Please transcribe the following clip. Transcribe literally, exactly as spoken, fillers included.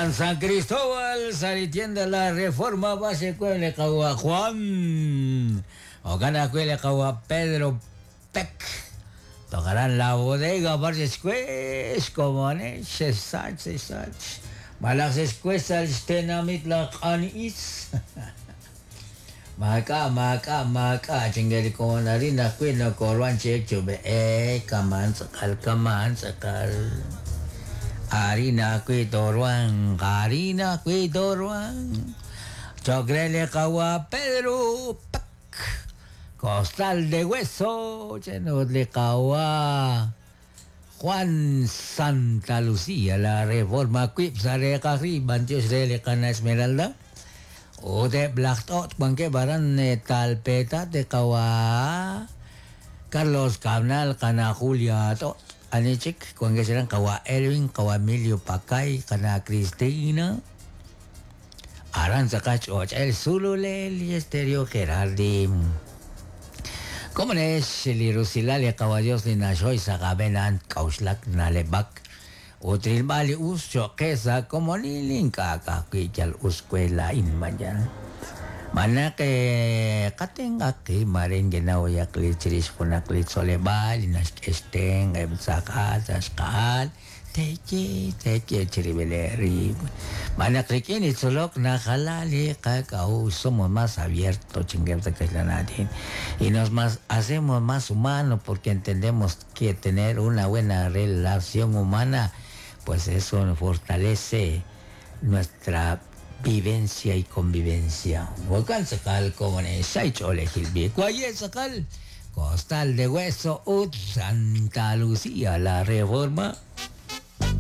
Aran San Cristóbal, Saritienda La Reforma, base Cuele Kawa Juan. Ogana Cuele Kawa Pedro Peck. Tocarán la bodega, barrio Squesh, como sach, sach. Malak squesh al stenamit la kanis. Maka, maka, maka, chingeli ko na rin ako na korwan check chube eh, kaman sakal, kaman sakal. Harina kuitorwan, harina kuitorwan. Chocrele kawa Pedro Pac. Costal de hueso, chenodle kawa Juan Santa Lucía, la reforma quipsare kari, bantios rele kana Esmeralda. O de Blacktot, banque baran talpeta de kawa Carlos Cabnal, kana Julia tot. Anichik, kung silang kawa Erwin, kawa Emilio Pakay, kana Cristina, Aranza Cach, Och, El Zululel y Estéreo Gerardi. ¿Cómo es? Lirusilalia, kawa Dios, Linashoy, Sagabenan, Kauslak, Nalebak, Utrilbali, Uscho, Quesa, como Lilin, Kaka, Kichal, Uscuela, Inmayan. Manake katenga ki maring ginawa klichiris kuna klitsolebal inaskesteng ebsakat askal teche teche chiribeleri manakrikin itsolok na halali kakao somos más abiertos chingueta que la nadie y nos más hacemos más humanos porque entendemos que tener una buena relación humana pues eso fortalece nuestra vivencia y convivencia. Volcán Sacal, como en Costal de Hueso, Ut, Santa Lucía, la Reforma.